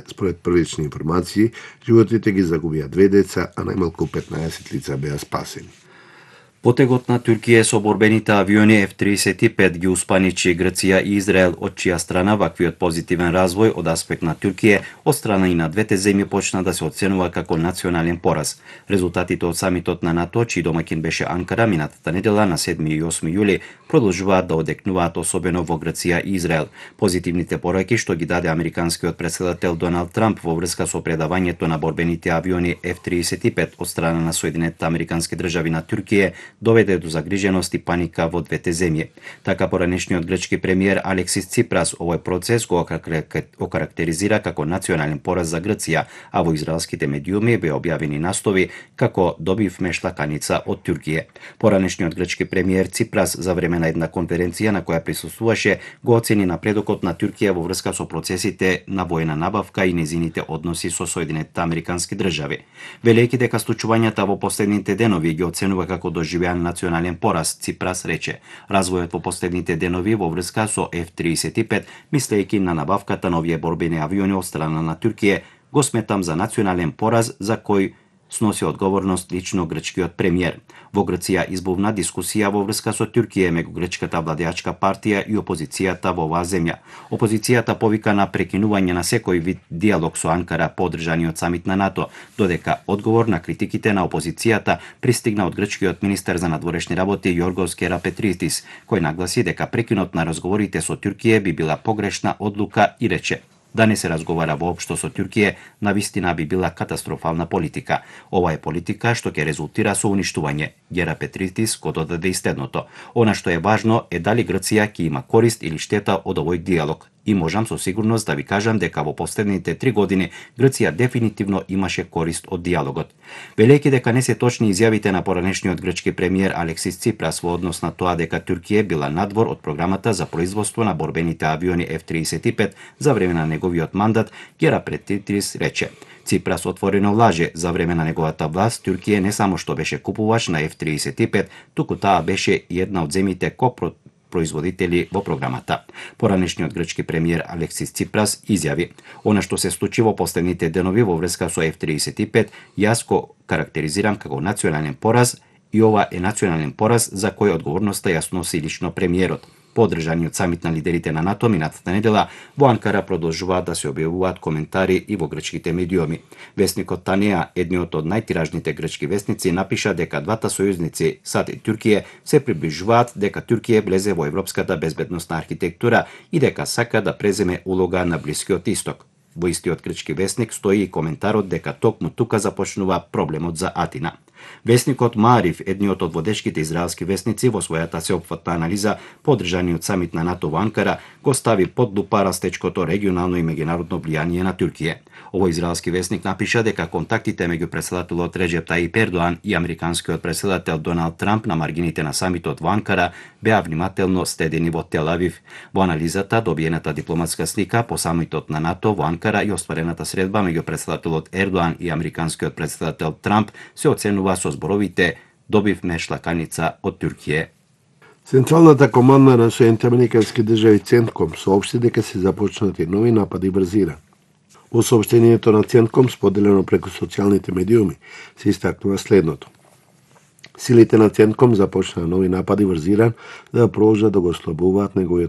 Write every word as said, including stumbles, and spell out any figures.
Според првични информации, животите ги загубија две деца, а најмалку петнаесет лица беа спасени. Потегот на Туркија со борбените авиони Еф триесет и пет ги успаничи Грција и Израел, од чија страна ваквиот позитивен развој од аспект на Туркија од страна и на двете земји почна да се оценува како национален пораз. Резултатите од самитот на НАТО, чиј домаќин беше Анкара минатата недела на седми и осми јули, продолжуваат да одекнуваат особено во Грција и Израел. Позитивните пораки што ги даде американскиот претседател Доналд Трамп во врска со предавањето на борбените авиони Еф триесет и пет од страна на Соединетите американски држави на Туркија доведе до загриженост и паника во двете земји. Така поранешниот грчки премиер Алексис Ципрас овој процес го окарактеризира како национален пораз за Грција, а во израелските медиуми беа објавени наслови како добивме шлаканица од Туркија. Поранешниот грчки премиер Ципрас за време на една конференција на која присуствуваше го оцени напредокот на Туркија во врска со процесите на војна набавка и незините односи со Соединетите американски држави. Велејќи дека случувањата во последните денови ги оценува како доживеан национален пораз, Ципрас рече: развојот во последните денови во врска со Еф триесет и пет, мислејќи на набавката на овие борбени авиони од страна на Туркија, го сметам за национален пораз за кој сноси одговорност лично грчкиот премиер. Во Грција избувна дискусија во врска со Туркија меѓу грчката владеачка партија и опозицијата во оваа земја. Опозицијата повика на прекинување на секој вид диалог со Анкара по одржаниот самит на НАТО, додека одговор на критиките на опозицијата пристигна од грчкиот министер за надворешни работи Јоргос Керапетритис, кој нагласи дека прекинот на разговорите со Туркија би била погрешна одлука и рече: да не се разговара воопшто со Туркија, навистина би била катастрофална политика. Ова е политика што ќе резултира со уништување. Керапетритис го додаде и следното: она што е важно е дали Грција ќе има корист или штета од овој диалог. И можам со сигурност да ви кажам дека во последните три години Грција дефинитивно имаше корист од диалогот. Велејќи дека не се точни изјавите на поранешниот грчки премиер Алексис Ципрас во однос на тоа дека Туркија била надвор од програмата за производство на борбените авиони Еф триесет и пет за време на неговиот мандат, Керапетритис рече: Ципрас отворено лаже. За време на неговата власт Туркија не само што беше купувач на Еф триесет и пет, туку таа беше и една од земјите копро производители во програмата. Поранешниот грчки премиер Алексис Ципрас изјави: она што се случи во последните денови во врска со Еф триесет и пет, јас го карактеризирам како национален пораз и ова е национален пораз за кој одговорноста ја сноси лично премиерот. По одржаниот самит на лидерите на НАТО минатата недела во Анкара продолжуваат да се објавуваат коментари и во грчките медиуми. Весникот Танеа, едниот од најтиражните грчки весници, напиша дека двата сојузници САД и Туркија се приближуваат, дека Туркија влезе во европската безбедносна архитектура и дека сака да преземе улога на Блискиот Исток. Во истиот грчки весник стои и коментарот дека токму тука започнува проблемот за Атина. Весникот Маариф, едниот од водечките израелски весници, во својата сеопфатна анализа по одржаниот самит на НАТО во Анкара, го стави под лупа растечкото регионално и меѓународно влијание на Туркија. Овој израелски весник напиша дека контактите меѓу претседателот Реџеп Таип Ердоан и американскиот претседател Доналд Трамп на маргините на самитот во Анкара беа внимателно следени во Тел Авив. Во анализата добиената дипломатска слика по самитот на НАТО во Анкара и остварената средба меѓу претседателот Ердоан и американскиот претседател Трамп се оценува со зборовите: добивме шлаканица од Туркија. Централната команда на Соединетите американски држави Центком соопшти дека се започнати нови напади врз Иран. Во соопштението на Центком, споделено преку социјалните медиуми, се истакнува следното: силите на Центком започнаа нови напади врз Иран за да продолжат да го ослабуваат неговиот